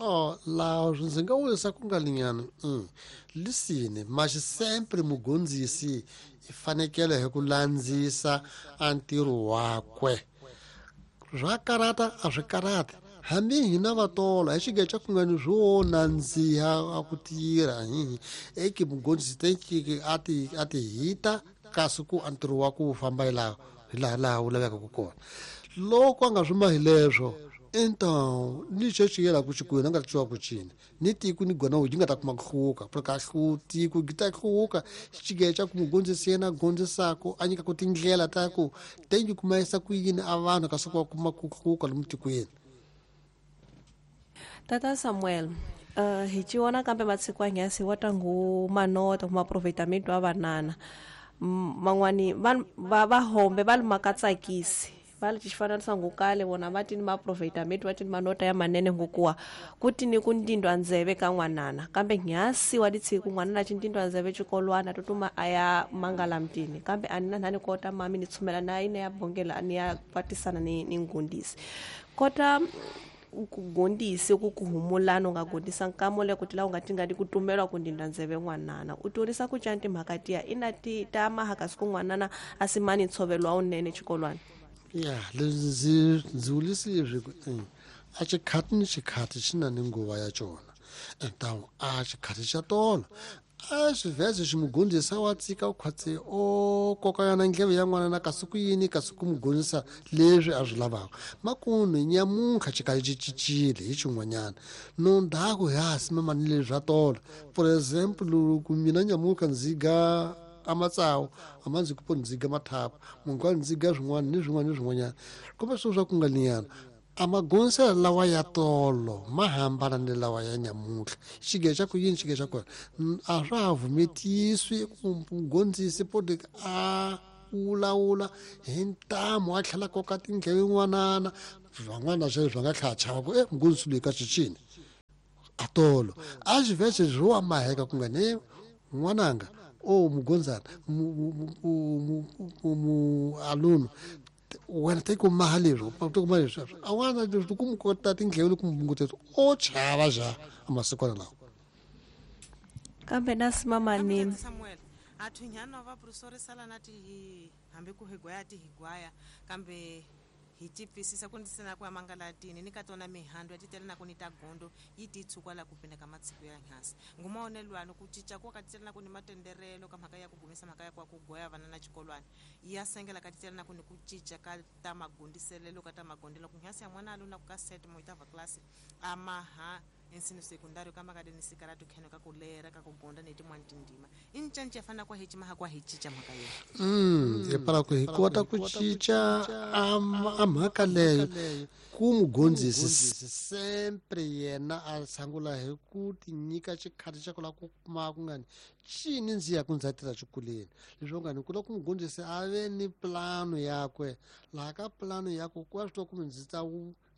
Oh, laha ndzi nga vurisa ku nga linyana lisini mas sempre mugondzisi i fanekele hi ku landzisa a ntirho wakwe swa karata a swi karati hambi hina vatola hi xigeca ku nga ni swo nandziha a ku tirha hihi eke mugondzisi tenkiki a ti hita kasi ku a ntirho wa ku famba hi laha hi laha laha wu lavekaka kona loko a nga swi mahi leswo então ni xo xi yela ku xikwini a nga twiwa ku cini ni tiko ni gona yi nga ta kuma ku hluka porque a hlu tiko gi ta hluka xigeca ku mugondzisi yena a gondzisako a nyikaku tindlela ta ku tengi kuma yisa ku yini a vanhu kasi ku va kuma ku hluka lomu tikweni. Tata Samuel, hi ciwana kambe matsiku anghasi wa tangu manota kuma aproveitamento a vanana. Man'wani va va hombe va lumaka tsakisi va li xifananiso ngukale vona va tini maaproveitamento va tini manota ya manene ngukuwa ku tini ku ndindwa ndzeve ka n'wanana kambe nghasi wa litshiku n'wanana ci ndindwa ndzeve xikolwana tutuma a ya mangala mtini kambe a ni na nhani kota mami ni tshumela na ine ya bongela ni ya kwatisana ni ngundisi kota ku gondise ku ku humulana u nga gondisa nkamo le ku tila u nga tingani ku tumelwa ku ndindwa ndzeve n'wanana u torisa ku cani timhaka tiya ina ti ta mahaka siku n'wanana a simani ntshovelo wa wunene xikolwana. Ya leswi ndzi ndzi vulisi leswi ku a xikhati ni xikhati xi na ni nguva ya xona então a xikhati xa tolo a xivheze xi mugondzisa wa tsika u khwatsi o koka yona ndleve ya n'wana na kasi ku yini kasi ku mugondzisa leswi a swi lavaka makunu nyamuntlha xi kali xi cincile hi xin'wanyana no ndhaku hi ha simama ni leswi swa tolo for example loko mina nyamuntlha ndzi ga a matsawu a ma ndzi ku ndzi ga mathapu munhu ka ndzi ga swin'wana ni swin'wana ni swin'wanyana kumbe swilo swa ku nga liyana a magondziselo lawa ya tolo ma hambana ni lawa ya nyamuntlha xige xa ku yini xige xa kona a swa ha vumetiswi ku mugondzisi podi a wulawula hi ntamu a tlhela koka tindleve n'wanana van'wana sweswo swa nga tlhela chava ku e mugondzisi loyi ka swicini a tolo a xi vhese swo wa maheka ku nga ne n'wananga o mugondzana mu aluno wena te ku maha leswi te ku maha leswi a n'wana leswi ku mu kota tindleve loko mu bunguteta o chava xa amasikwana lawa kambe na simamani Samuel athunyana va prosorisala na ti hambi ku higwaya ti higwaya kambe hi ti pfisisa ku ndzi na ku ya mangalatini ni ka tona mihandzu ya titele na ku ni ta gondo yi ti tshukwa la ku pinda ka matshiku ya nghasi ngumaonelwano ku cinca ku ka titele na ku ni matenderelo ka mhaka ya ku gumisa mhaka ya ku ku goya vana na xikolwana ya sengela ka titele na ku ni ku cinca ka ta magondiselelo ka ta magondelo ku nghasi ya n'wana a na ku ka set mo itava class amaha ensino secundário ka maka ni sikaratu kheno ka ku lera ka ku gonda ni tin'wana tindima i ncanci ya fanele ku hi cima kwa hi cinca mhaka yena hi pala ku hi kota ku cinca a mhaka leyo ku mugondzisi sempre yena a sangula hi ku ti nyika xikhathi xa ku lava ku kuma ku nga ni cini ndzi ya ku ndzi ya tirha xikolweni leswi nga ni ku lava ku mugondzisi a ve ni plano yakwe laha ka plano yakwe ku va swi tiva kumbe ndzi ta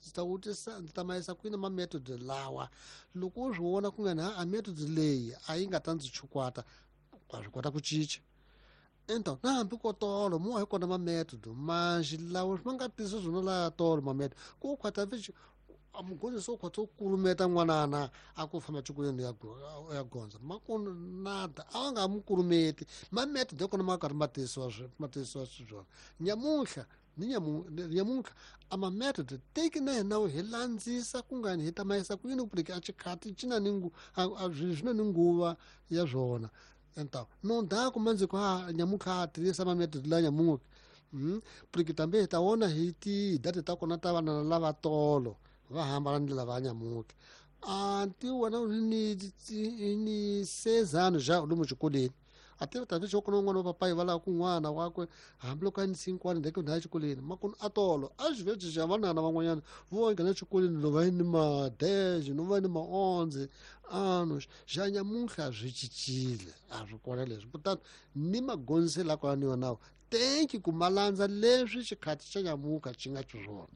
ndzi ta vutisa ndzi ta mayisa kwini ma method lawa loko u swi vona ku nga ni a method leyi a yi nga ta ndzi chukwata wa swi kota ku cinca então na hambi ko tolo mo hi kona ma method manji lawa ma nga tisi swona laya tolo ma method ku khwata vici mugondzisi u khwatsa u kulumeta n'wanana a ku famba xikolweni ya gondza makunu nada a va nga mu kulumeti ma method ya kona ma karhi ma tisiwa ma tisiwa xiswona nyamuntlha ni nyamuntlha a ma method teki na hina hi landzisa ku nga ni hi ta mayisa ku yini ku puleke a xikhati xi na ni swi na ni nguva ya swona então no ndhaku mandzi ku a nyamuntlha a tirhisa ma method la nyamuntlha porque tambe hi ta vona hi ti data ta kona ta vana lava tolo va hambana ni lava nyamuntlha anti wena ni sezano ja lomu xikolweni a tiva ta xo kona un'wana wa papayi va lava kun'wana wakwe hambiloko a ni sinkwani ndeke ndhawu exikolweni makunu a tolo a xi vhe xa vanana van'wanyana vo nghena exikolweni lo va ni ma-dez no va ni ma-onze ano xa nyamuntlha swi cincile a swi kona leswi kutani ni magondziselo la kona ni yonawo tenki ku ma landza leswi xikhathi xa nyamuntlha xi nga xiswona.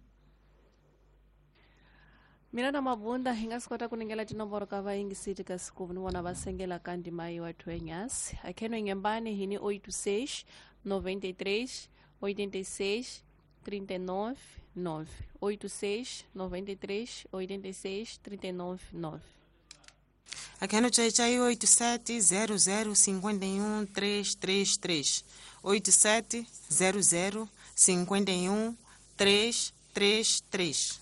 Mina na Mabunda hi nga swi kota ku ningela tinomboro ka vayingisiti ka siku ni vona va sengela ka ndima yi wa thwenyasi akheno ngembani hi ni 86 93 86 39 9. 86 93 86 39 9. Aqui no Tchai 87 00 51 333. 87 00 51 333.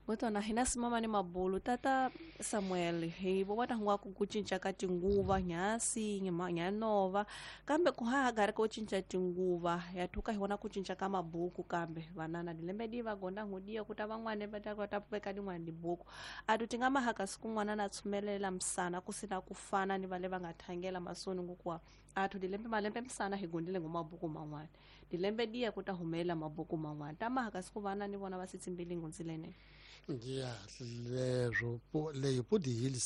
Gotona hina simama ni mabulu tata Samuel hi vona ngwa ku cinca ka tinguva nyasi nyanova kambe ku ha gari ko cinca tinguva ya thuka hi vona ku cinca ka mabuku kambe vanana dilembe di va gonda ngudiya kuta van'wana va ta kota veka din'wana dibuku a tu tinga mahaka siku n'wana na tshumelela msana ku sina ku fana ni vale va nga thangela masoni ngokuwa a tu dilembe malembe msana hi gondile ngo mabuku man'wana dilembe diya kuta humela mabuku man'wana ta mahaka siku vana ni vona va sitsimbili ngunzilene. Ya, leswo leyo podi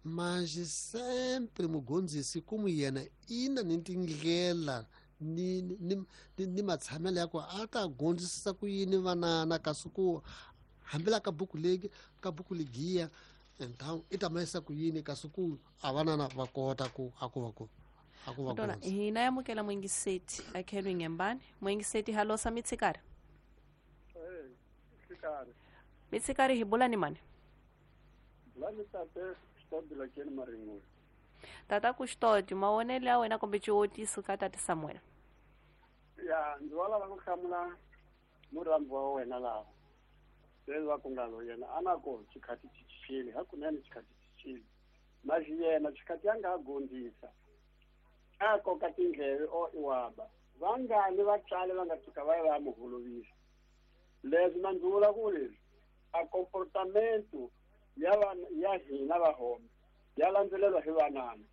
mas sempre mugondzisi como yena ina ni tindlela ni matshamelo ya ku a ta gondzisisa ku yini vanana kasi ku hambela ka buku legi ka buku legiya então i ta mayisa ku yini kasi ku a vanana va kota ku a ku va ku a ku va gondzisa. Hina yamukela mwingiseti akhelwe ngembani mwingiseti halosa mitsikari. Mitsikari hi bula ni mani? Tata Custódio, maonelo ya wena kumbe xivotiso ka tata Samuel. Ya, ndzi va lava ku hlamula murhambi wa wena laha. Leswi va ku nga lo yena a na ko xikhathi xi cincile, hakunene xikhathi xi cincile. Mas yena xikhathi ya nga ha gondzisa. A koka tindleve o iwaba. Vangani vatswari va nga tshuka va ya va mu holovisa. Leswi na ndzi vula ku leswi a comportamento ya hina vahombe ya landzelelwa hi vanana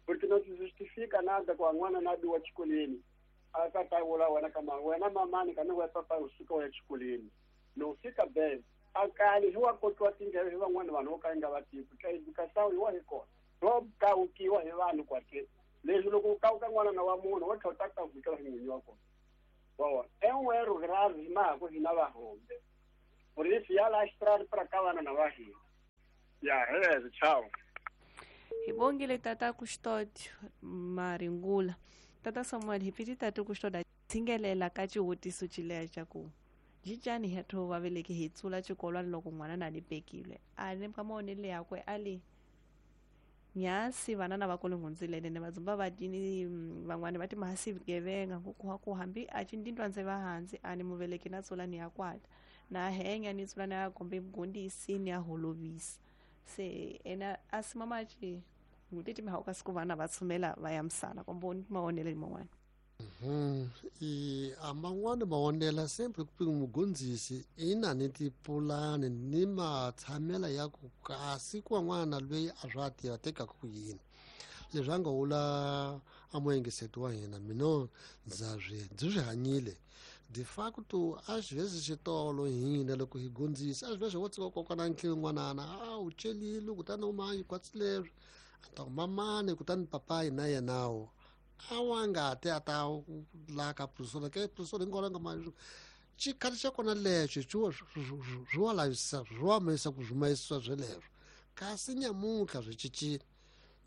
porque não se justifica nada ku n'wana na biwa xikolweni a ka ta vula wena ka wena mamani ka ni wa papa u suka wa xikolweni no fika be a kali hi wa kokiwa tindleve hi van'wana vanhu vo ka nga va tivi ka educação hi wa hi kona ro kawukiwa hi vanhu kwate leswi loko u kawuka n'wana na wa munhu wa tlhela u ta kawukela hi n'winyi wa kona. Bom, é um erro grave na hina vahombe. Por isso ya lastrar para cá vana na vahina. Ya, é, tchau. Hi bongile tata Custódio Maringula. Tata Samuel hi piti tata Custódio tsingelela ka xivutiso xileya xa ku jicani hi tho va veleke hi tsula xikolwana loko n'wana na ni pekile. A ni ka maonelo yakwe a li nyasi vanana va kule ngundzilene ne vadzumba va tini van'wana va ti mahasi vugevenga ku hambi a cindindwa ndze va hansi a ni muveleki na tsula ni ya kwata na henya ni tsula ni ya kombe mugondisi ni ya holovisa se ena a simama ci ngutiti mihauka siku vana va tshumela va ya misana kombo ni maonelo man'wana. I a man'wana maonela sempre ku mugondzisi ina ni tipulani ni matshamela ya ku kasi ku van'wana loyi a swa tiva tekaka ku yini leswi a nga wula a muengiseti wa hina mina ndza swi ndzi swi hanyile de facto às vezes xitolo hina loko hi gondzisa às vezes wo tsika kokwana ntlhelo n'wanana a wu celile kutani u mayi kwatsi leswi a ta ku mamani kutani papayi na yenawo a wa nga te a ta la ka professor ke professor ngolo nga ma xikhathi xa kona lexo swi wa lavisa swi wa mayisa ku swi mayisisa sweleswo kasi nyamuntlha swi cincile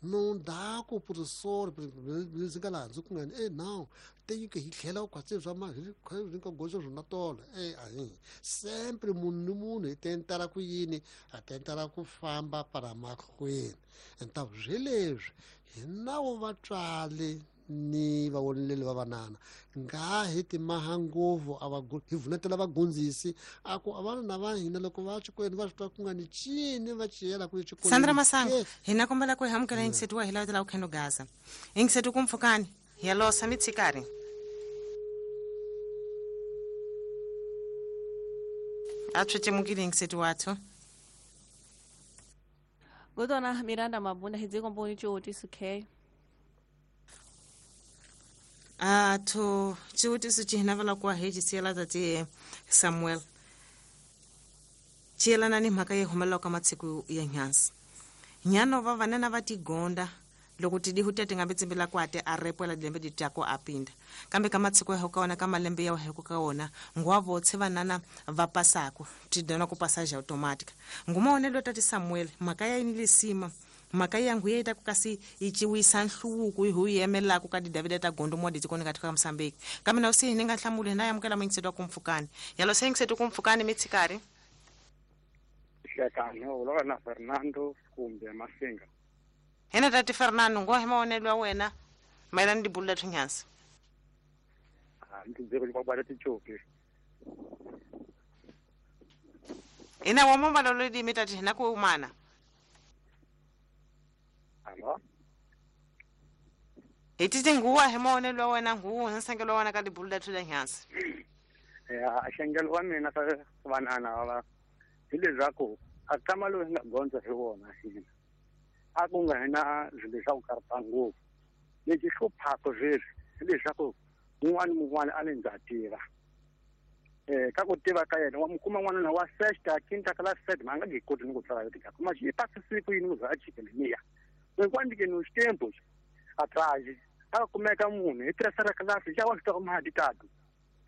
não dá ku professor ndzi nga laha ndzi ku ngani e now teyike hi tlhela u khwatsi swa ma hi nga goxa swona tolo e ahi sempre munhu ni munhu hi tentela ku yini a tentela ku famba para mahlweni então sweleswi hi nawo vatswali ni vavoneleli va vanana nga hi timaha ngopfu a va hi vunetela vagondzisi a ku a vana va hina loko va xikolweni va swi twa ku nga ni cini va ciyela ku xikolweni. Sandra Masango hina kombela ku hi amukela ingiseti wa hi lavela ku khendo gaza ingiseti ku mpfukani hi losa mitsikari a tswetsemukile ingiseti wathu Godona Miranda Mabunda hi dzikomboni xivotiso k atho xivutiso xi hina vala ku hi xisiyela tati Samuel xiyelana ni mhaka yi humelelaka ka matsiku ya nyansi nyano va vanana va tigonda loko tidihu te ti nga tsimbela kwate a repwela dilembe di tyako a pinda kambe ka matsiko ya ka wona ka malembe ya heko ka wona ngwa votse vanana va pasako ti dona ku passage automatica ngumaonelo tati Samuel mhaka ya yini lisima Mhaka ya nguye ta ku kasi yi ciwisa nhluvuko hi hu yemelaka ka didavida ta gondo mo ditsikoni ka tika Mozambique. Kambe na usi ni nga hlamuli na yamukela mingiseto ku mpfukani. Yalo sengiseto ku mpfukani mitsikari. Hlekani u na Fernando kumbe Masinga. Hena tati Fernando ngo hi maonelo ya wena mayelana ni dibulu ta nyansi. Ndzi ku ba tichoki. Ina wa momba lo di mitati na ku mana. Alo. Etite nguwa hi maonelo ya wena nguwa nsengelo wa wena ka dibulu ta nyansi. Ya xengelo wa mina ka vanana va hi leswaku a kama loyi nga gondza hi wona hina a ku nga hina swilo swa ku karhata ngopfu lexi hluphaka sweswi hi leswaku un'wana mun'wana a ni ndza tiva ka ku tiva ka yena wa mu kuma n'wanuna wa sexta quinta kala sete ma nga nge koti ni ku tsala yoti ka ma xi pasisi ku yini ku za a chikele niya hinkwandike no xitempo atrás a kumeka munhu hi tirhisa ra class xa wa swi tiva mali tatu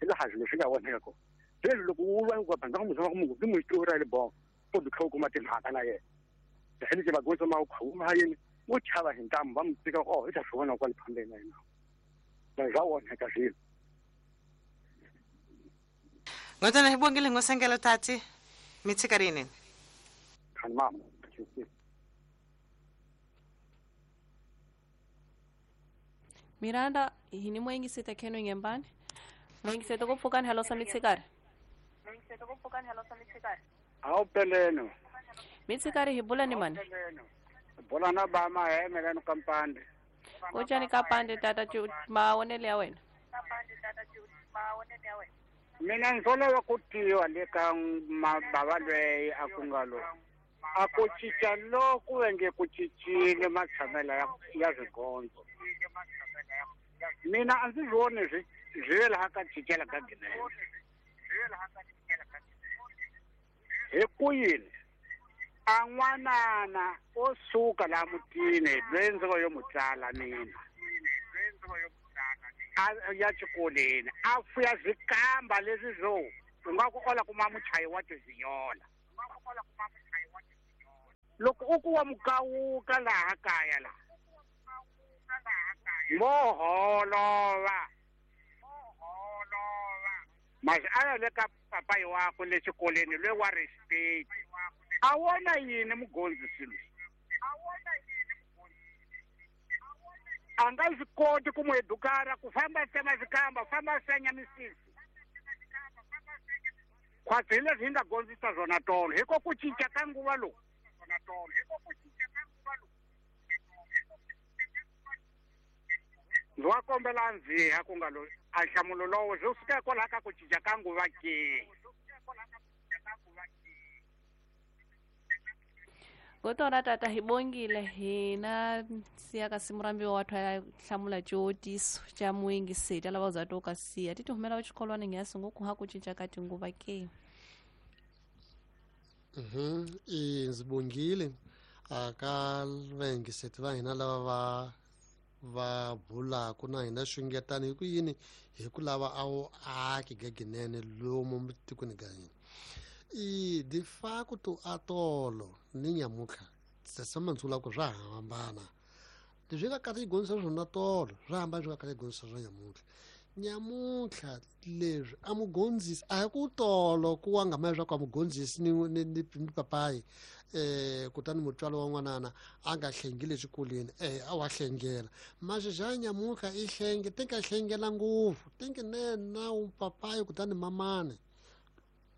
hi laha swilo swi nga voneka kona leswi loko u va ku bandza ku muzama ku munhu ti mu xitori le bon po du kha kuma timhaka na yena hileswi vagondzo ma khuma yini wo chava hi ntamu va mu tika oh i ta swi vona kwale phambeni na yena na swa voneka swilo. Ngotana hi bongile ngosengelo tati mitsikarini. Khani mama. Miranda hini mwengisete keno ngembani. Mwengisete kopfukani halo sa mitsikari. Awu peleno. Mitsikari hi bula ni mani? Bula na ba ma hemelano kampande. Kojani kapande tata maonele ya wena. Mina ngizola ku tiwa le ka mabava lweyi a ku nga lo a ku cinca loku nge ku cincile matshamelo ya swigondzo. Mina a ndzi voni swi swi laha ka cincela ka ginene. Hi ku yini a n'wanana o suka laha mutini loyi ndzi ngo yo mu tsala mina a ya xikolweni a fuya swikamba leswi swo u nga ku ola kuma muchayi wa tizinyola loko u ku wa mukawuka laha kaya laha mo holova masi a ya le ka papayi wakwe le xikolweni loyi wa respect a wona yini mugondzisi loyi a nga swi koti ku mu edukara ku famba tsema swikamba famba senya misisi khwatsi hi leswi hi nga gondzisa swona tolo hi ko ku cinca ka nguva lowu. Ndzi wa kombela ndziha ku nga loyi a nhlamulo lowo swi suka hikwalaho ka ku cinca ka nguva ke. Kotona tata hi bongile hina siya ka simurambi wa wathu ya hlamula xivotiso xa muyingiseti lava za to ka siya ti humela xikolwana ngiyasi ngoku ha ku cinca ka tinguva ke. Ndzi bongile aka vayingiseti va hina lava va bulaku na hina xungetani hi ku yini hi ku lava a wu aki gaginene lomu tikweni ka hina. I de facto atolo ni nyamutlha sesama ndzula ku swa hambana leswi nga kahle yi gondzisa swona tolo swa hambana swi nga kahle yi gondzisa swa nyamutlha. Nyamutlha leswi a mugondzisi a hi ku tolo ku wa nga ma leswaku a mugondzisi ni papayi kutani mutswalo wa n'wanana a nga hlengile exikolweni a wa hlengela maxi xa nyamutlha i hlenge ti nga hlengela ngopfu ti nge nena u papayi kutani mamani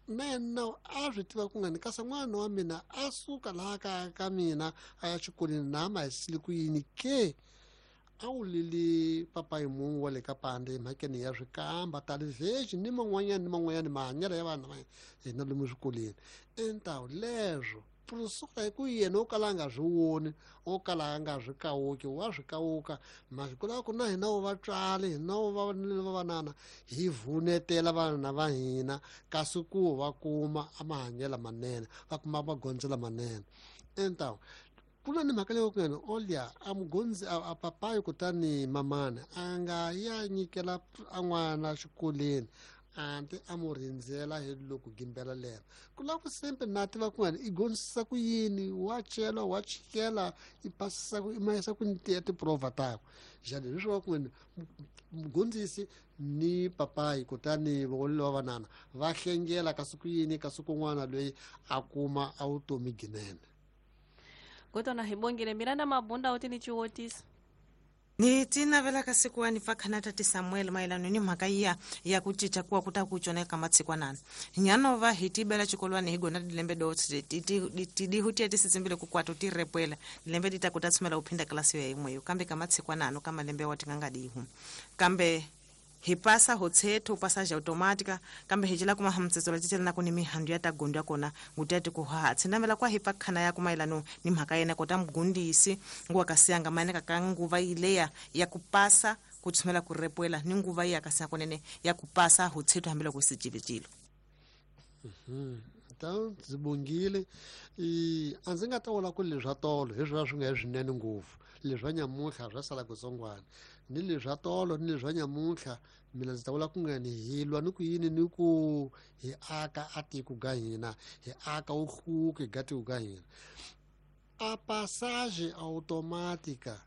nena a swi tiva ku nga ni kasi n'wana wa mina a suka laha kaya ka mina a ya xikolweni na ma hisile ku yini ke a wu lili papayi mun'we wa le ka pande emhakeni ya swikamba talivhexi ni man'wanyana ni man'wanyana mahanyelo ya vana va hina lomu swikolweni entawu leswo suka hi ku yena o kala a nga swi voni o kala a nga swi kawuki wa swi kawuka masiku lawa ku na hina wo vatswari hina wo va vanana hi vunetela vana va hina kasi ku va kuma a mahanyelo manene va kuma magondzo lamanene entawu ku na ni mhaka leyo ku yena olya a mugondzi a papayi kutani mamani a nga ya nyikela a n'wana xikolweni Anti a mu rindzela hi loko gimbela lero ku lava ku sempre na tiva ku ngani i gondzisa ku yini wa cela wa chikela i pasisa ku i mayisa ku ni tiprova takwe jani hi swo ku ngani mugondzisi ni papayi kutani vongolelo wa vanana va hlengela kasi ku yini kasi kun'wana loyi a kuma a vutomi ginene. Kutona hi bongile Miranda Mabunda u ti ni ciwotisa. Ni ti navela ka siku wa ni fa khana tati Samuel mayelano ni mhaka iya ya ku cinca kuwa ku ta ku cona eka matsikwanana. Nyanova hi tibela xikolwani hi gona dilembe do tidihu tiya ti sitsimbile ku kwato ti repwela dilembe di ta ku ta tshumela u phinda klasi ya yin'weyo kambe ka matsikwanano ka malembe wa ti nga nga dihu kambe hi pasa ho tshetho passage automática kambe hi cela kuma hamtsetso la cicela na ku ni mihandu ya ta gondo ya kona nguti ti ku ha tshinamela kwa hi pakhana ya kumayelano ni mhaka yena kota mugundisi nguwa kasiyanga maeneka ka nguva ileya ya ku pasa ku tshumela ku repwela ni nguva iya kasiya konene ya ku pasa ho tshetho hambiloko sicilicilo. Então ndzi bongile a ndzi nga ta vula ku leswa tolo hi swona swi nga hi swinene ngopfu leswa nyamuntlha swa sala kutsongwana ni leswa tolo ni leswa nyamuntlha mina ndzi ta vula ku nga ni hi lwa ni ku yini ni ku hi aka a tiko ga hina hi aka wuhluke ga tiko ga hina. A passagem automática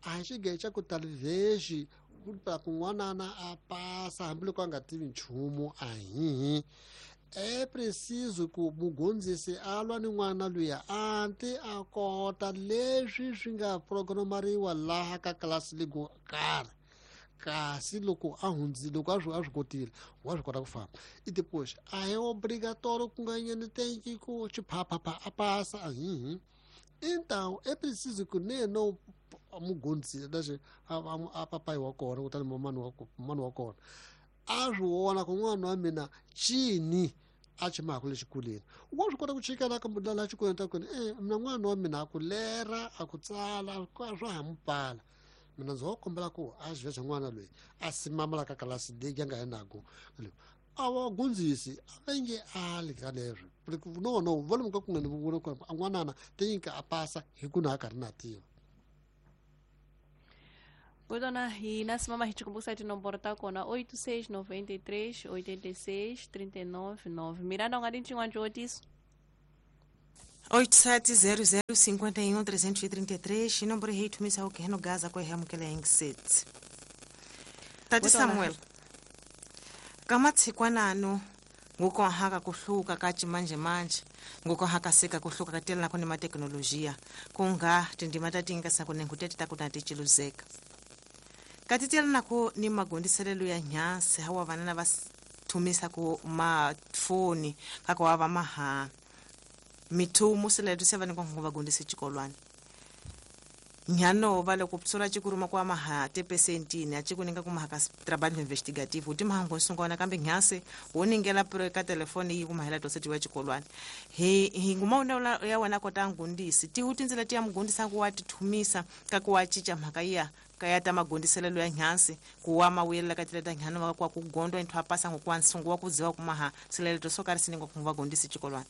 a hi xigehe xa ku talvez ku kun'wanana a pasa hambiloko a nga tivi nchumu a hihi. É preciso ku mugondzisi a lwa ni n'wana luya anti a kota leswi swi nga programariwa laha ka klasi leyi karhi kasi loko a hundzi loko a swi kotile wa swi kota ku famba i depois a hi obrigatório ku nga nyani tenki ku xiphaphapha a pasa a hihi. Então é preciso ku neno mugondzisi lexi a papayi wa kona kutani mani wa kona a swi vona ku n'wana wa mina cini a chimaka le xikolweni wa swi kota ku chikela ka laha xikolweni ta kona mina n'wana wa mina a ku lera a ku tsala swa ha mu pala mina ndzi ho kombela ku a xi xa n'wana loyi a simamala ka kalasi leyi ya nga yinaku a va gundzisi a va nge ali ka leswo no no va lemuka ku nga ni vona ku n'wanana teyinka a pasa hi ku na a karhi na tiva. Kutona hi na simama hi chikumbusa tinomboro ta kona 86 93 86 39 9. Miranda u nga di xin'wana xivotiso? 87 00 51 333 inomboro hi thumisa ku heno gaza ko hi amukela yingiseti. Tati Samuel ka matshikwanano nguko haka kuhluka ka chimanje manje nguko haka seka kuhluka katela nako ni mateknolojia kunga tindima tatinga sako nengutete takuna tichiluzeka katitela nako ni magondiselelo ya nyasi hawa vanana va thumisa ku mafoni kako wa va maha mithumu siletu se vani kongo vagondise chikolwani nyano vale kupsula chikuruma kwa maha tepesentini achikuninga kumahaka trabalho investigativo uti mahango sungona kambe nyase woningela pro ka telefoni yi kumahela toseti wa chikolwani hi nguma una ya wana kota ngundisi ti utinzela ti ya mugundisa ku wa tithumisa ka ku wa chicha mhaka ya kaya ta magondiselelo ya nyansi kuwa mawuyela ka tileta nyano wa kwa kugondwa inthu apasa ngokuwa nsungu wa kudziwa kumaha sileleto sokari siningo kumvagondisi chikolwani.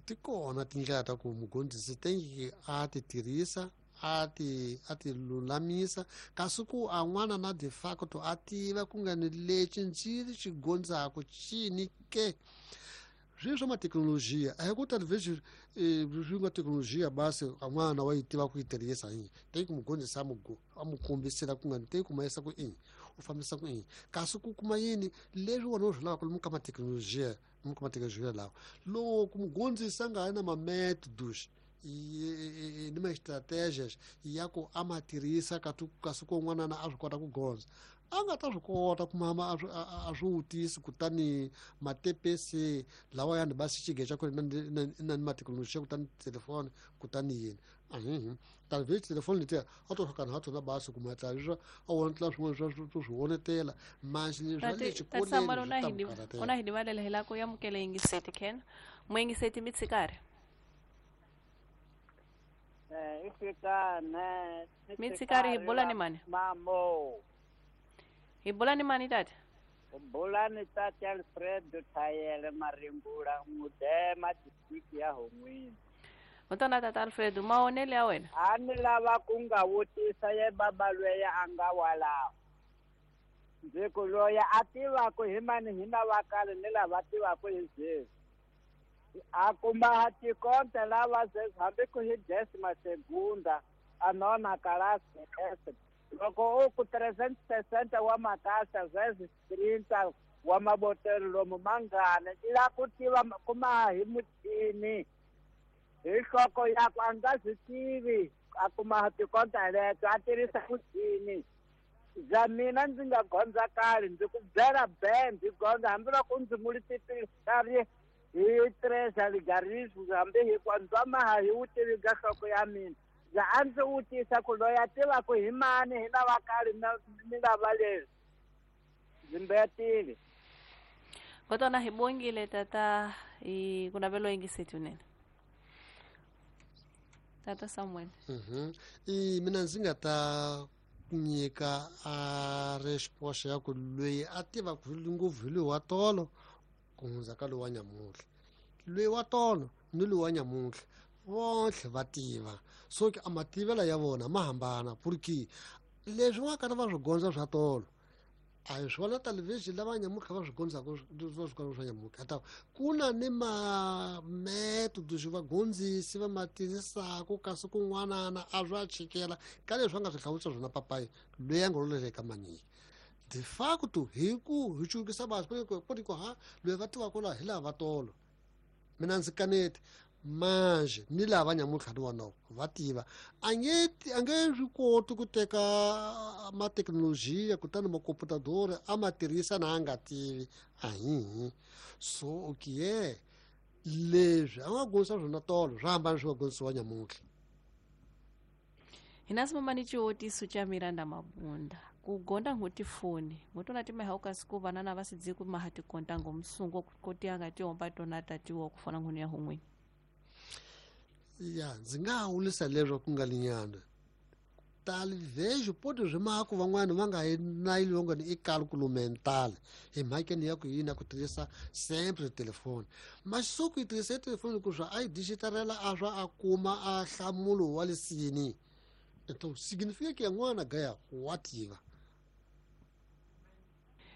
Ti kona tindlela ta ku mugondzisi tengi a ti tirhisa a ti lulamisa kasi ku a n'wana na de facto a tiva ku nga ni lexi ndzi xi gondzaku cini ke swi swa mathekinolojiya a hi ku talvez swi nga thekinolojiya basi a n'wana wa yi tiva ku yi tirhisa hi teki ku mugondzisi a mu kombisela ku nga ni teki ku mayisa ku ini u fambisa ku ini kasi ku kuma yini leswi wona u swi lavaka lomu ka mathekinolojiya mathekinolojiya lawa loko mugondzisi a nga ha na ma-métodos ni ma-estratégias ya ku a ma tirhisa kasi ku n'wanana a swi kota ku gondza a nga ta swi kota ku mama a swi wutisi kutani matepesi lawa yani basi xige xa kona na ni mathekinoloji kutani telefoni kutani yini talvez telefoni letiya a to hlakana ha tona basi kuma tla a wona swin'wana swa swi vonetela mas leswi swa le xikolweni una hi rivalela hi la ku amukela yingiseti ken muyingiseti mi tshikari mi tshikari hi bula ni mani mamo hi bula ni mani tata bula ni tata Alfredo Thayele Marimbula Mudema district ya Hon'wini. Mutona tata Alfredo maonele ya wena a ni lava ku nga vutisa ye baba lweya a nga walaho Ndzi ku loyi a tivaka hi mani hi lava kale ni lava tivaka hi sweswi. A kuma tikonta lava sweswi hambi ku hi décima segunda a nona kalasi S. Loko u ku 360 wa makasa sweswi 30 wa mabotelo lomu mangana i la ku tiva kuma hi muchini hi nhloko yakwe a nga swi tivi a kuma tikonta leto a tirhisa muchini. Bya mina ndzi nga gondza kale ndzi ku byela be ndzi gondza hambiloko ndzi multiply hi 3 algorithm hambi hi kwa ndzwa maha hi vutivi bya nhloko ya mina. Bya a ndzi vutisa ku loyi a tivaka hi mani hi lava kale ni lava leswi. Ndzi mbetile. Kotona hi bongile tata hi ku navelo yingiseti unene. Tata Samuel. I mina ndzi nga ta nyika a resposta ya ku loyi a tivaka ngopfu hi loyi wa tolo ku hundza ka loyi wa nyamuntlha. Loyi wa tolo ni loyi wa nyamuntlha vontlhe va tiva. So ke a mativelo ya vona ma hambana porque leswi va karhi va swi gondza swa tolo a hi swona television lava nyamuntlha va swi gondzaka va swi gondza swa nyamuntlha. Ta ku na ni ma-method swi vagondzisi va ma tirhisaka kasi kun'wanana a swa chikela ka leswi va nga swi hlawurisa swona papayi loyi a nga loleka manyiki. De facto hi ku hi cukisa vanhu ku ri ku ha loyi va tivaka laha hi lava va tolo. Mina ndzi kaneti manje ni lava nyamuntlha ni wona va tiva a nge swi koti ku teka mathekinolojiya kutani makomputadori a ma tirhisa na a nga tivi ahihi. So okay leswi a nga gondzisa swona tolo swa hambana swi va gondzisiwa nyamuntlha. Hina simamani xivotiso xa Miranda Mabunda ku gonda ngutifoni ngotona timeha kasi ku vanana va sidzi ku maha tikonta ngomsungo ku tianga tihomba tona tatiwa ku fana nguni ya hun'wini. Ya ndzi nga wulisa leswo ku nga linyana talvejo poti swi maku van'wani va nga na yilongo ni i calculo mental hi mhakeni ya ku yini ku tirhisa sempre telefoni masuku yi tirhisa telefoni ku swa a yi digitarela a swa a kuma a hlamulo wa lesini. Então significa que n'wana gaya wa tiva.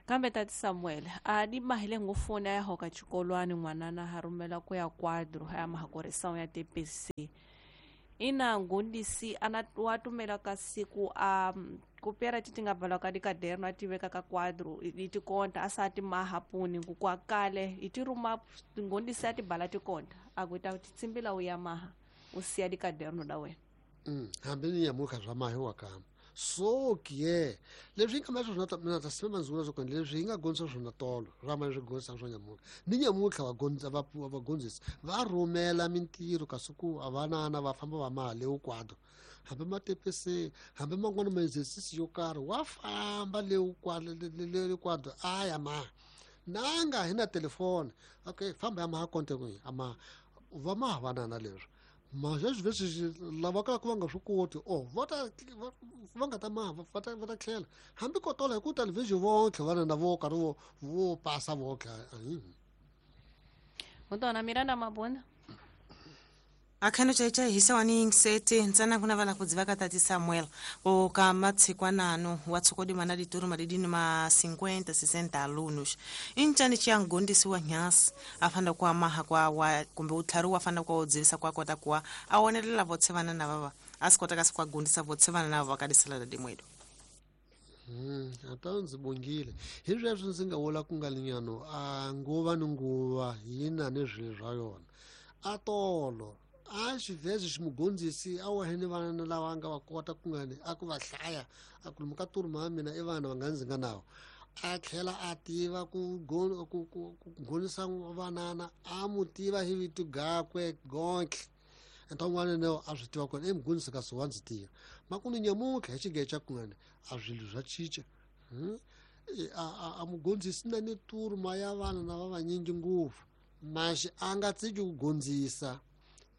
Kambe tati Samuel a di mahile ngofoni ya hoka xikolwani n'wanana ha rhumela ku ya quadro ya mahakorisa ya TPC. Ina ngondisi ana wa tumela ka siku a kupera ti nga balwa ka dikaderno a tiveka ka quadro i tikonta a sa ti mahapuni ku kwa kale i ti ruma ngondisi a ti bala tikonta a ku ta tsimbila u ya maha u siya dikaderno da wena. Hambi ni nyamuntlha swa mahi wa kama. So ke leswi nga ma swona mina ta sima manzula swo leswi hi nga gondzisa swona tolo swa ma swi gondzisa swa nyamuntlha ni nyamuntlha va gondza va vagondzisi va rhumela mintirho kasi ku a vanana va famba va mali quadro hambi ma TPC hambi man'wana ma exercise yo karhi wa famba le quadro le quadro a ya ma nanga hi na telefoni okay famba ya ma konte ku ama va ma vanana leswi ma leswi lava ka ku va nga swi koti o va ta va nga ta ma va ta tlhela hambi ko tola hi ku television vontlhe vana na vo karhi vo pasa vontlhe. Mutona Miranda Mabunda akhano chaicha hisa wani nsete ntsana kuna vala kudziva ka tati Samuel o ka matsikwanano wa tsokodi mana dituru madidini ma 50 60 alunos inchani chiyangondisi wa nyasi afanda kwa maha kwa wa kumbe utlharu wafanda kwa udzivisa kwa kota kwa awonelela votse vana na vava asikota kasi kwa gondisa votse vana na vava kadisela da dimwedo. Ata ndzi bongile hi sweswo ndzi nga vula ku nga linyano a nguva ni nguva yina ni swilo swa yona a tolo a xivhezi ximugondzisi a wa hene vana lava nga va kota ku ngani a ku va hlaya a ku lomu ka turuma ya mina i vana va nga ndzi nga nawo a tlhela a tiva ku gonisa vanana a mu tiva hi vito gakwe gontlhe enta un'wana na a swi tiva kona i mugondzisi kasi wa ndzi tiva makunu nyamuntlha hi xigeca ku ngani a swilo swa cinca a mugondzisi na ni turuma ya vana na va vanyingi ngopfu maxi a nga tsiki ku gondzisa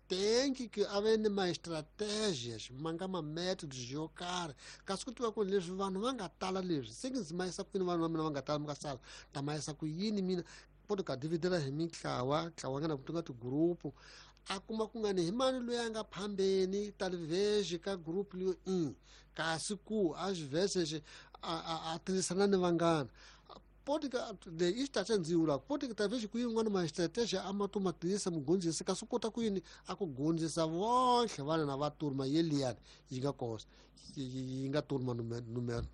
tenki ke a ve ni ma-strategies ma nga ma-methods yo karhi kasi ku tiva ku leswi vanhu va nga tala leswi se ndzi ma yisa kwini vanhu va mina va nga tala mi nga sala ta ma yisa ku yini mina poto ka dividela hi mitlawa ntlawa nga na ku nga tigrupu A kuma ku nga ni hi mani loyi a nga phambeni talvez ka group leyo i kasi ku a xivhese a tirhisana ni vanghana poti ka le i xitaxa ndzi vula poti ka talvez ku yin'wana maxitaxa a ma to ma tirhisa mugondzisi kasi u kota ku yini a ku gondzisa vonhle vana na va turma yeliyani yi nga kosa yi nga turma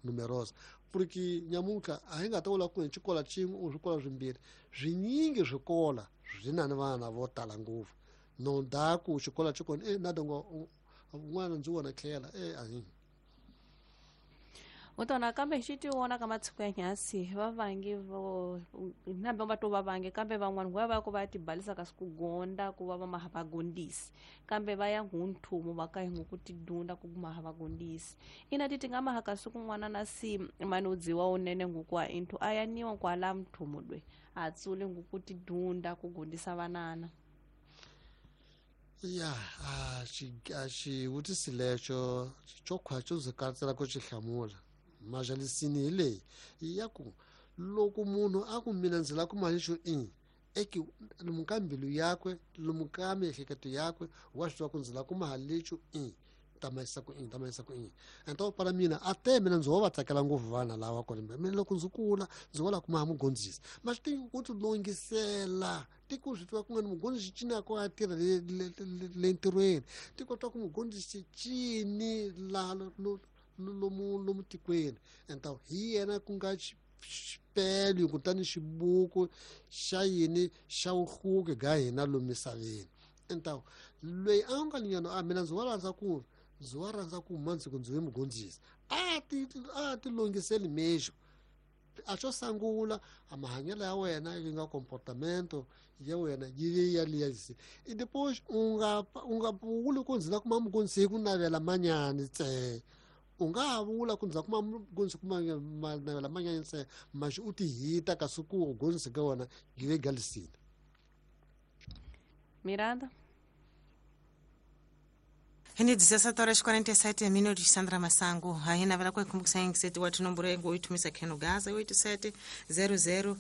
numerosa porque nyamuntlha a hi nga ta vula ku hi xikola xin'we u swikola swimbirhi swinyingi swikola swi na ni vana vo tala ngopfu no daku xikola xi kona na dongo un'wana ndzi vona tlhela a hi utona kambe xi ti vona ka matshiku ya nyasi va vangi vo nambe va to va vangi kambe van'wana va va ku va tibalisa kasi ku gonda ku va va maha va gondisi kambe va ya ngunthumu va ka hi ku tidunda ku maha va gondisi ina ti tinga maha kasi kun'wana na si manudziwa unene ngukwa inthu a ya niwa kwala mthumu lwe a tsule nguku tidunda ku gondisa vanana. Ya a xivutiso lexo xo khwa xo ndzi katsela ku xi hlamula majalisini hi leyi ya ku loko munhu a ku mina ndzi lava ku mali xo i eki lomu ka mbilu yakwe lomu ka miehleketo yakwe wa swi tiva ku ndzi lava ku mali lexo i ta mayisa ku i ta mayisa ku i ento para mina a te mina ndzi wo va tsakela ngopfu vana lava kona mina loko ndzi kula ndzi wo lava ku maha mugondzisi ma swi tivi ku ti longisela tiko swi tiva ku nga ni mugondzisi cini ko a tirha le ntirhweni tiko twa ku mugondzisi cini laha lomu tikweni ento hi yena ku nga xipelo kutani xibuku xa yini xa vuhluke ga hina lomu misaveni ento loyi a nga linyana a mina ndzi wa rhandza ku ndzi wa rhandza ku mandziko ndzi ve mugondzisi a ti longiseli mexo a xo sangula a mahanyelo ya wena yi nga comportamento ya wena yi ve ya liya i depois u nga vuli ku ndzi la kuma mugondzisi hi ku navela manyani ntsena u nga ha vula ku ndzi la kuma mugondzisi ku navela manyani ntsena maxi u ti hita kasi ku gondzisi ka wena yi ve galisini. Miranda Hini 17:47 minutos Sandra Masango hayi navela kwa kumbukisa ngiseti watu nomboro yangu oitumisa Keno Gaza 87 00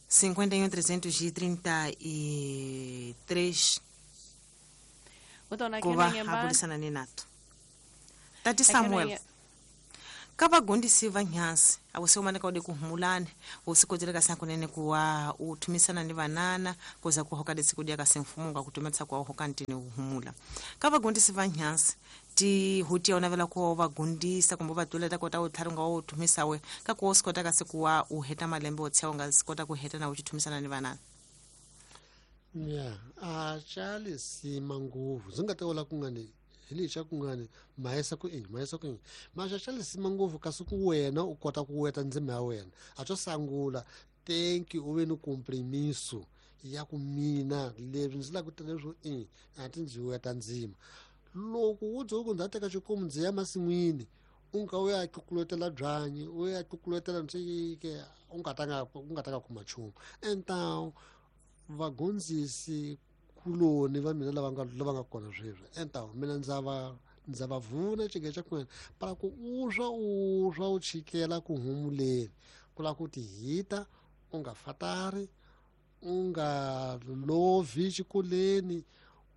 51 333 Utona kuva abulisana ni nato Tati Samuel kavagondisi va nyansi awuseumane kaude kuhumulane usikozela kasankunene kuwa uthumisana ni vanana kuza kuhoka desikudia kasemfumo ngakutumetsa kwa hoka ntini uhumula kavagondisi va nyansi ti hutia unavela kuwa vagondisa kumbe vatuleta kota utlharunga wa uthumisa we kakuwa usikota kasi kuwa uheta malembe otsya ungasikota kuheta na uchithumisana ni vanana. Ya a chali sima nguvu zingateola kungani hili xa kungani mahesa ku i mahesa ku i maxa xa lisima ngopfu kasi ku wena u kota ku weta ndzima ya wena a xo sangula thank you u ve ni kompromiso ya ku mina leswi ndzi lava ku tirha leswo i a ti ndzi weta ndzima loko wo dzoku ndza teka xikomu ndzi ya masin'wini u nga u ya tlukuletela byanyi u ya tlukuletela ntsike u nga ta nga kuma nchumu entawu vagondzisi kuloni va mina lava nga kona sweswi entawu mina ndza va vuna xige xa kwena para ku uswa u chikela ku humuleni ku lava ku ti hita u nga fatari u nga lovi xikoleni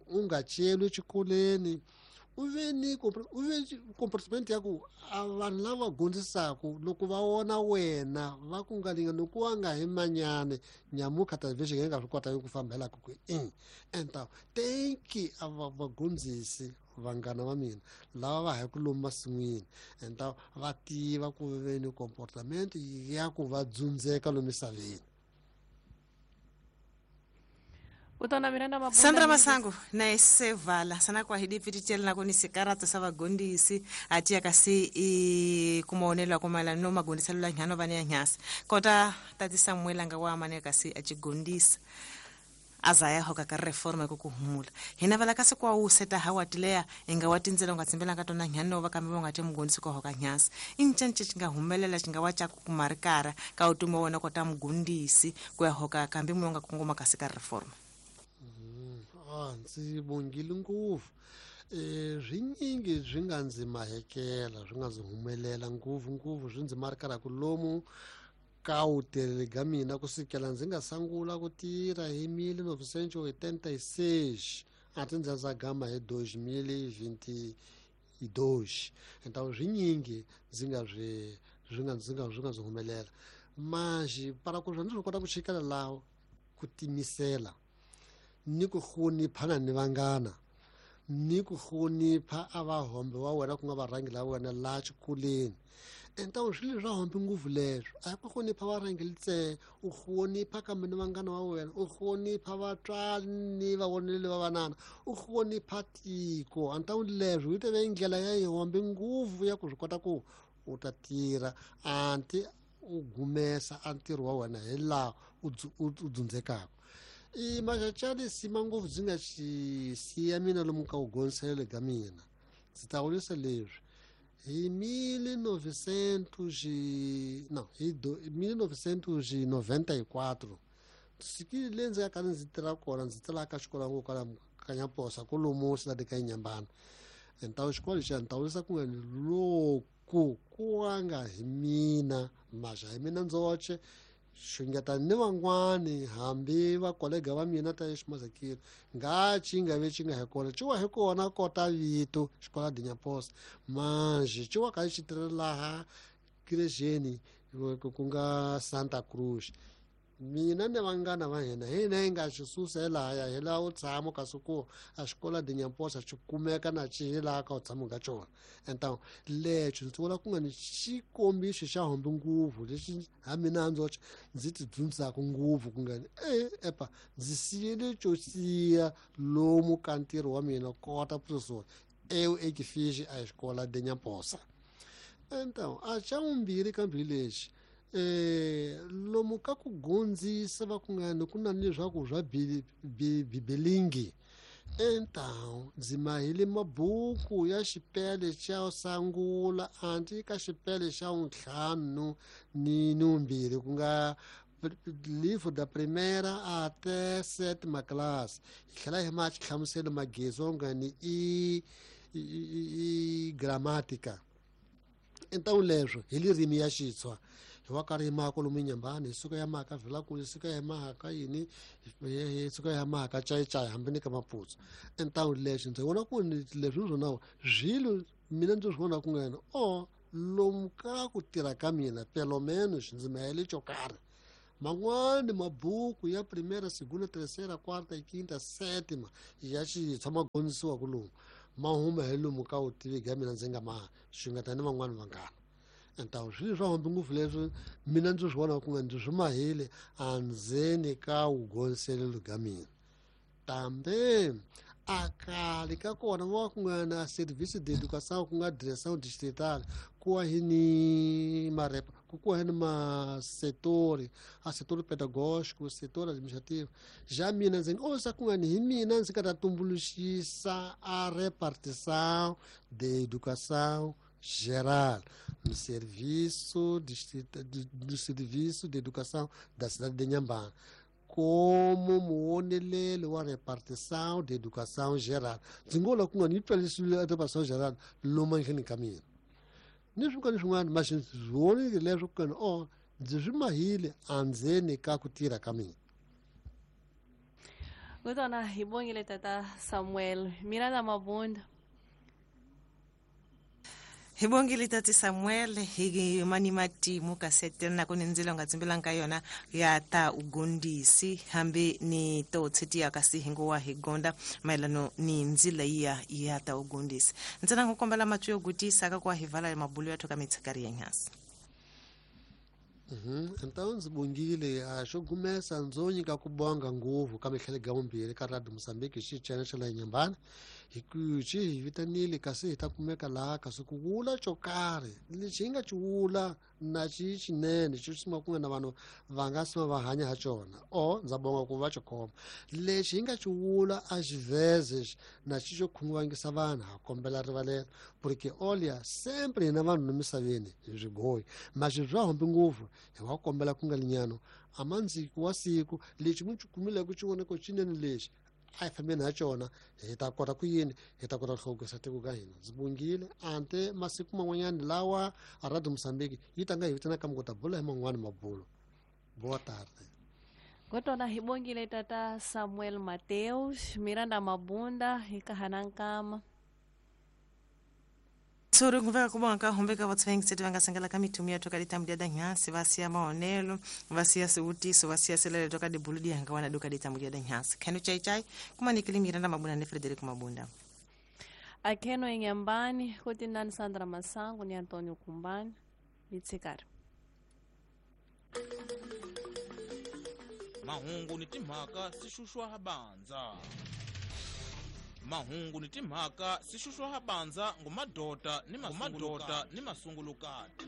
u nga celwi xikoleni u ve ni comportment ya ku a vanhu lava gondzisaku loko va vona wena va ku nga lingani ku wa nga hi manyane nyamuka television yi nga swi kota ku fambela ku i enta thank you a vagondzisi vanghana va mina lava va haku lomu masin'wini enta va tiva ku ve ni comportment ya ku va dzundzeka lomu misaveni. Sandra Masango na sevala sana kwa hidi pititela na koni sekarata sa vagondisi atia kasi i kumaonelo kumala no magondisa lula nyano vane ya nyasa kota tati Samuel anga wa mane kasi achigondisa azaya hoka ka reforma kukuhumula hina vala kasi kwa useta hawatilea inga watinzela ungatsimbela katona nyano vakambe vangati mugondisi kwa hoka nyasa inchanche chinga humelela chinga wacha kumarikara ka utumo wona kota mugondisi kwa hoka kambe mwonga kungoma kasi ka reforma. Ndzi bongile ngopfu swinyingi swi nga ndzi mahekela swi nga ndzi humelela ngopfu ngopfu swi ndzi marikara ku lomu ka vutirheli bya mina kusukela ndzi nga sungula ku tirha hi 1986 a ti ndza gama hi 2022. Então swinyingi ndzi nga swi swi nga ndzi nga swi nga ndzi humelela manjhe para ku ndzi swi kota ku chikela laha ku timisela ni ku hloniphana ni vanghana ni ku hlonipha a vahombe wa wena ku nga varhangi la wena laha xikolweni. Então swilo swa hombe ngopfu leswo a hi ku hlonipha varhangeli ntsena, u hlonipha kambe ni vanghana va wena, u hlonipha vatswari ni vavoneli va vanana, u hlonipha tiko. Então leswo yi teve ndlela ya yihombe ngopfu ya ku swi kota ku u ta tirha anti u gumesa a ntirho wa wena hi laha u dzundzekaka. I maxaxani sima ngopfu byi nga xi siya mina lomu ka vugondziselo ka mina. Ndzi ta vurisa leswi hi 1994 sikile leyi ndzi nga ka ndzi tirha kona ndzi tirhaka xikolo ngo kwala ka Nyaposa kolomo cidade ka Inhambane. Então xikolo xa ni ta vurisa ku nga ni loko ku nga hi mina maxa hi mina ndzoxe xungeta ni van'wani hambi vakolega va mina ta eximazakile nga ci nga ve ci nga hi kona ci wa hi kona kota vito xikola de Nyaposa manjhe ci wa ka xi tirhela laha kirejeni ku nga Santa Cruz. Mina ni vanghana va hina hina hi nga xi susa hi lahaya hi laha u tshama kasi ku a xikola de Nyaposa xi kumeka na xi hi laha ka u tshama ka xona. Então lexo ndzi vula ku nga ni xikombiso xa hombe ngopfu lexi ha mina ndzoxe ndzi ti dzundzaka ngopfu ku nga ni epa ndzi siyele xo siya lomu ka ntirho wa mina kota professor eu e que fiz a escola de Nyaposa. Então a xa vumbirhi ka mbirhi lexi lomu ka ku gondzisa va ku nga ni ku na leswaku swa bibelingi. Então ndzi mahile mabuku ya xipele xa sangula anti ka xipele xa ntlhanu ni vumbirhi ku nga livro da primeira até sétima classe. Hi tlhela hi ma xihlamuselo magezi nga ni i gramática. Então leswo hi ririmi ya Xitswa hi wa karhi hi maka lomu Inhambane hi suka ya maka Vilakulu hi suka ya maka yini hi suka ya maka Cai-Cai hambi ni ka Maputsu. Então leswi ndzi vona ku leswi swona swilo mina ndzi swi vona ku nga yena o lomu ka ku tirha ka mina pelo menos ndzi mahele xo karhi. Man'wani mabuku ya primeira, segunda, terceira, quarta e quinta, sétima ya Xitswa ma gondzisiwa ku lomu ma huma hi lomu ka vutivi bya mina ndzi nga ma xungeta ni van'wani vanghana. Então swilo swa hombe ngopfu leswi mina ndzi swi vona ku nga ndzi swi mahile andzeni ka vugondziselo bya mina. Tambe a khale ka kona va ku nga na service de educação ku nga direção distrital ku wa hi ni marepa ku wa hi ni masetori a setor pedagógico, setor administrativo. Já mina ndzi osa ku nga ni hi mina ndzi nga ta tumbuluxisa a repartição de educação geral no serviço do serviço de educação da cidade de Inhambane como muoneleli wa repartição de educação geral. Ndzi ngo la ku nga ni twalisiwile educação geral lomu nhleni ka mina ni swin'wana swin'wana mas ndzi vonile leswo ku ni o ndzi swi mahile andzeni ka ku tirha ka mina. Kutona hi bongile tata Samuel Miranda Mabunda. Hi bongile tati Samuel hi mani matimu kasete na kuni ndzilo nga tsimbelanga ka yona ya ta ugondisi hambi ni to tshitia kasi hingo hi gonda maelano ni ndzila ya ta ugondisi. Ntsena ngokombela matwi yo gutisa ka kwa hivala mabulu ya toka mitsikari ya nyasi. Então ndzi bongile a xo gumesa ndzo nyika ku bonga ngopfu ka mihlele ga vumbirhi ka Radio Mozambique xi channel xa la Inhambane hi ku xi hi vitanile kasi hi ta kumeka laha kasi ku vula xo karhi lexi hi nga xi vula na xi xinene xi sima ku nga na vanhu va nga sima va hanya ha xona o ndza bonga ku va xi khoma lexi hi nga xi vula a xi veze na xi xo khunguvangisa vanhu ha kombela rivalelo porque olha sempre hina vanhu emisaveni hi swigoyi mas swa hombe ngopfu hi wa kombela ku nga linyano a mandziki wa siku lexi mu xi kumileke xi voneko xinene lexi A hi fambeni ha cona, hi ta kota ku yini, hi ta kota ku hluvukisa tiko ka hina. Ndzi bongile ante masiku man'wanyana lawa a Radio Mozambique yi ta nga hi vitana kambe ku ta bula hi man'wani mabulo. Boa tarde. Kotona hi bongile tata Samuel Mateus Miranda Mabunda hi kahana nkama. Tsuri kumveka kubonga ka hombe ka vatsvengiseti va nga sengela ka mithumu ya toka ditambu dia danhasi va siya maonelo, va siya swivutiso, va siya selele toka dibulu dihanga wana duka ditambu dia danhasi khenu chaichai kumanikili Miranda Mabunda ni Frederico Mabunda. Akheno inyambani kuti nani Sandra Masango ni Antonio Kumbani mitsikari. Mahungu ni timhaka swi xuxwa bandza, mahungu ni timhaka swi xuxwa bandza ngumadota ni mamadota ni masungulukati,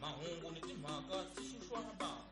mahungu ni timhaka swi xuxwa bandza.